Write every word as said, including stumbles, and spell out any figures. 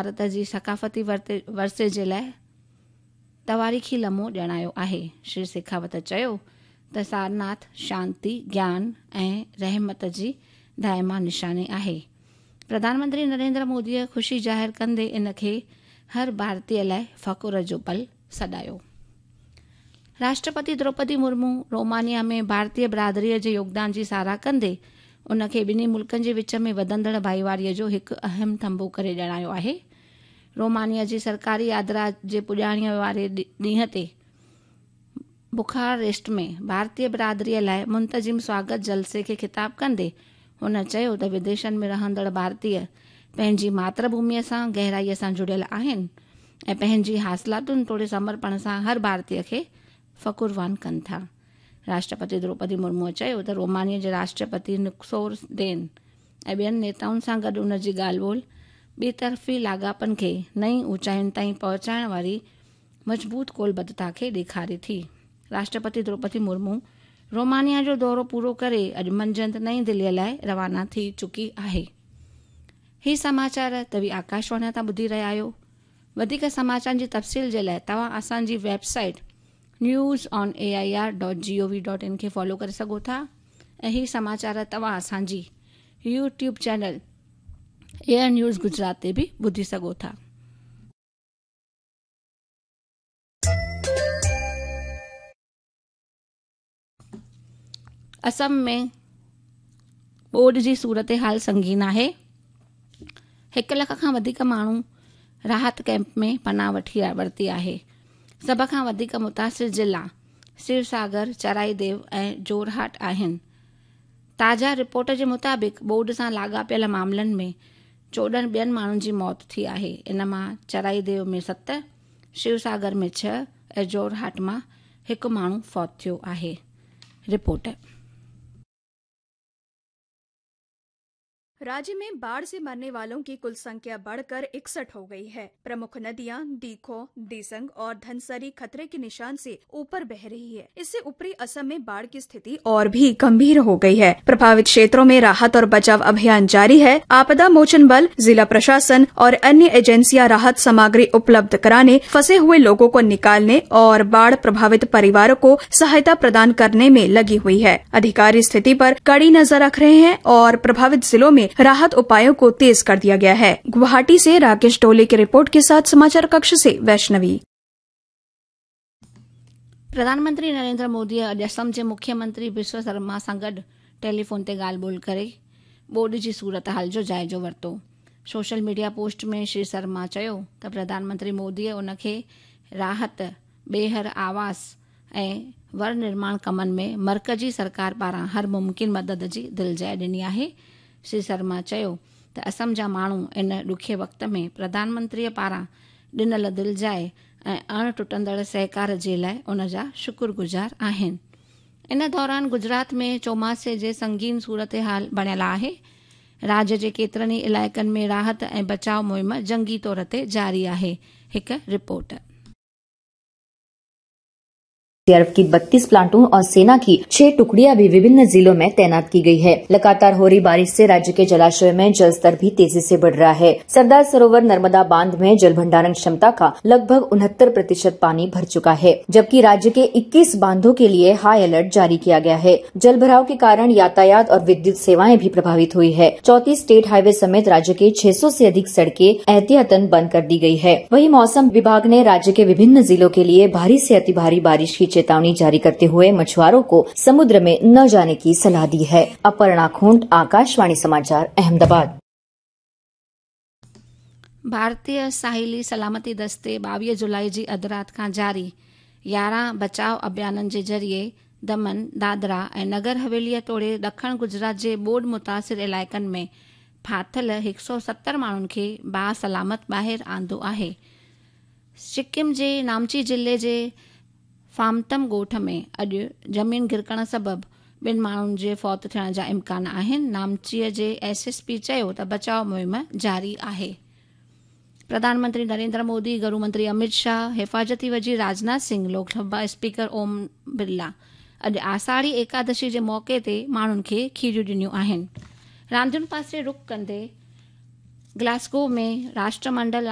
ڀارت جي ثقافتي ورثي جي لاءِ تواريخي لمحو ڄاڻايو آهي. شري شيکاوت چيو ته سارناٿ شانتي، گيان ۽ رحمت جي دائما نشاني آهي. پرڌان منتري نريندر موديءَ خوشي ظاهر ڪندي ان کي هر ڀارتيه لاءِ فخر جو پل سڏايو. راشٽرپتي دروپدي مرمو رومانيا ۾ ڀارتيه برادريءَ جي يوگدان جي ساراهه ڪندي ان کي ٻنهي ملڪن جي وچ ۾ وڌندڙ ڀائيواريءَ جو هڪ اهم ٿنڀو ڪري ڄاڻايو آهي. رومانيا جي سرڪاري ياترا جي پڄاڻيءَ واري ڏينهن تي بخاريسٽ ۾ ڀارتيه برادريءَ لاءِ منتظم سواگت جلسي کي خطاب ڪندي هن چيو ته وديشن ۾ رهندڙ ڀارتيه پنهنجي ماتر ڀوميءَ سان گهرائيءَ سان جڙيل آهن ۽ پنهنجي حاصلاتن توڙي سمرپڻ سان هر ڀارتيه کي فخروان ڪن ٿا. راشٽرپتي دروپدي مرموءَ چيو ته رومانيا جي راشٽرپتي نڪسور ڊين ۽ ٻين نيتائن سان گڏ ان جي ڳالهه ٻولهه ٻطرفي لاڳاپن کي نئين اوچاين تائين پهچائڻ واري مضبوط ڪولبڌتا کي ڏيکاري ٿي. راشٽرپتي دروپدي مرمو رومانيا جو دورو پورو ڪري اڄ منجهند نئين دليءَ لاءِ روانا ٿي چڪي آهي. هي سماچار توهين آڪاشواڻي تان ٻڌي رهيا آهيو. وڌيڪ سماچارن جي تفصيل جي لاءِ توهان اسان جي website news on A I R dot G O V dot in کي فالو ڪري سگهو ٿا ۽ هي سماچار توهان اسان جي YouTube channel air news Gujarat تي به ٻڌي سگهو ٿا. اسم ۾ ٻوڏ جي صورت حال سنگين آهي. هڪ لک کان وڌيڪ ماڻهو راحت ڪيمپ ۾ پناهه وٺي ورتي آهي. سڀ کان وڌيڪ متاثر ضلعا شوساگر، چرائيديو ۽ جورهاٽ آهن. تازا رپورٽ جي مطابق ٻوڏ سان لاڳاپيل معاملن ۾ چوڏهن ٻين ماڻهن جي موت ٿي آهي. ان مان چرائيديو ۾ ست، شوساگر ۾ ڇهه ۽ جورهاٽ مان هڪ ماڻهو فوت ٿيو آهي. رپورٽ. राज्य में बाढ़ से मरने वालों की कुल संख्या बढ़कर इकसठ हो गई है। प्रमुख नदियां दीखो, दिसंग और धनसरी खतरे के निशान से ऊपर बह रही है। इससे ऊपरी असम में बाढ़ की स्थिति और भी गंभीर हो गई है। प्रभावित क्षेत्रों में राहत और बचाव अभियान जारी है। आपदा मोचन बल, जिला प्रशासन और अन्य एजेंसियां राहत सामग्री उपलब्ध कराने, फंसे हुए लोगों को निकालने और बाढ़ प्रभावित परिवारों को सहायता प्रदान करने में लगी हुई है। अधिकारी स्थिति पर कड़ी नजर रख रहे हैं और प्रभावित जिलों में राहत उपायों को तेज कर दिया गया है। गुवाहाटी से राकेश डोले की रिपोर्ट के साथ समाचार कक्ष से वैष्णवी। प्रधानमंत्री नरेंद्र मोदी अॼु असम जे मुख्यमंत्री बिस्व शर्मा सां गॾु टेलीफोन ते ॻाल्हि ॿोल करे ॿोॾ जी सूरत हाल जो जाइज़ो वरितो। सोशल मीडिया पोस्ट में श्री शर्मा चयो त प्रधानमंत्री मोदीअ उनखे राहत, ॿीहर आवास ऐं वर निर्माण कमनि में मर्कज़ी सरकार पारां हर मुमकिन मदद जी दिलजाइ ॾिनी आहे। श्री शर्मा चयो त असम जा माण्हू इन ॾुखे वक़्त में प्रधानमंत्रीअ पारां ॾिनल दिलजाइ ऐं अण टुटंदड़ सहकार जे लाइ उन जा शुक्रगुज़ार आहिनि। इन दौरान गुजरात में चौमासे जे संगीन सूरत हाल बणियल आहे। राज्य जे केतिरनि ई इलाइक़नि में राहत ऐं बचाव मुहिम जंगी तौर ते जारी आहे। हिकु रिपोर्ट। एनडीआरएफ की बत्तीस प्लाटून और सेना की छह टुकड़ियां भी विभिन्न जिलों में तैनात की गई है। लगातार हो रही बारिश से राज्य के जलाशयों में जल स्तर भी तेजी से बढ़ रहा है। सरदार सरोवर नर्मदा बांध में जल भंडारण क्षमता का लगभग उनहत्तर प्रतिशत पानी भर चुका है, जबकि राज्य के इक्कीस बांधों के लिए हाई अलर्ट जारी किया गया है। जल भराव के कारण यातायात और विद्युत सेवाएं भी प्रभावित हुई है। चौंतीस स्टेट हाईवे समेत राज्य के छह सौ से अधिक सड़कें एहतियातन बंद कर दी गई है। वहीं मौसम विभाग ने राज्य के विभिन्न जिलों के लिए भारी से अति भारी बारिश की चेतावनी जारी करते हुए मछुआरों को समुद्र में न जाने की सलाह दी है। अपर्णा खूंट, आकाशवाणी समाचार, अहमदाबाद। भारतीय साहिली सलामती दस्ते ॿावीह जुलाई जी अधु राति खां जारी यारहं बचाव अभियाननि जे ज़रिए दमन, दादरा ऐं नगर हवेलीअ तोड़े ॾखण गुजरात जे ॿोॾ मुतासिर इलाइक़नि में फाथिल हिकु सौ सतरि माण्हुनि खे बासलामत ॿाहिरि आंदो आहे। सिक्किम जे नामची ज़िले जे फामतम ॻोठ में अॼु ज़मीन घिरकण सबबु ॿिनि माण्हुनि जे फौत थियण जा इम्कान आहिनि। नामचीअ जे एस एस पी चयो त बचाव मुहिम जारी आहे। प्रधानमंत्री नरेंद्र मोदी, गृह मंत्री अमित शाह, हिफाज़ती वज़ीर राजनाथ सिंह, लोकसभा स्पीकर ओम बिरला अॼु आषाढ़ी एकादशी जे मौक़े ते माण्हुनि खे खीरियूं ॾिनियूं आहिनि। रांदियुनि पासे रुख कंदे ग्लासगो में राष्ट्रमंडल